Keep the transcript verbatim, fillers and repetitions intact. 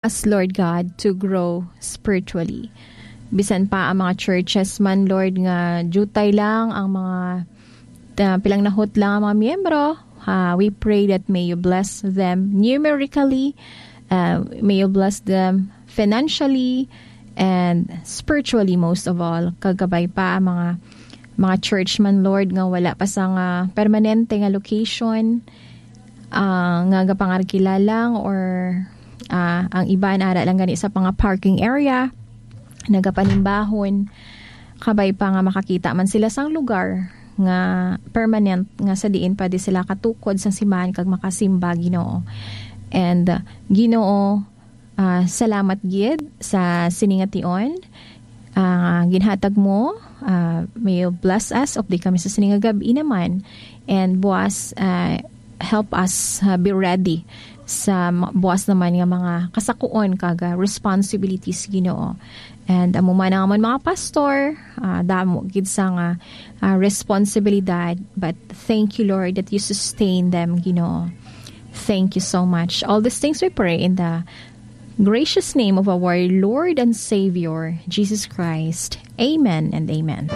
us, Lord God, to grow spiritually. Bisan pa ang mga churches man, Lord, nga jutay lang ang mga, uh, pilangnahot lang ang mga miyembro, uh, we pray that may you bless them numerically, uh, may you bless them financially, and spiritually most of all. Kagabay pa ang mga, mga church man, Lord, nga wala pa sa nga permanente nga location, ah, nga gapangarkila lang, or, ah, ang iban ara lang gani sa mga parking area, nagapanimbahon, kabay pa nga makakita man sila sang lugar nga permanent nga sa diin pwede sila katukod sang simbahan kag makasimba, Ginoo. And, uh, Ginoo, ah, salamat gid sa sini nga tion, ah, ginhatag mo. Ah, may you bless us, update kami sa sini nga gab-i naman. And buwas, ah, help us, ah, be ready sa ma-, buwas naman nga mga kasakuon kag, ah, responsibilities, Ginoo. And amo man ang amon mga pastor, ah, damo gid sa nga, ah, responsibilidad. But thank you, Lord, that you sustain them, Ginoo. Thank you so much. All these things we pray in the gracious name of our Lord and Savior, Jesus Christ. Amen and amen.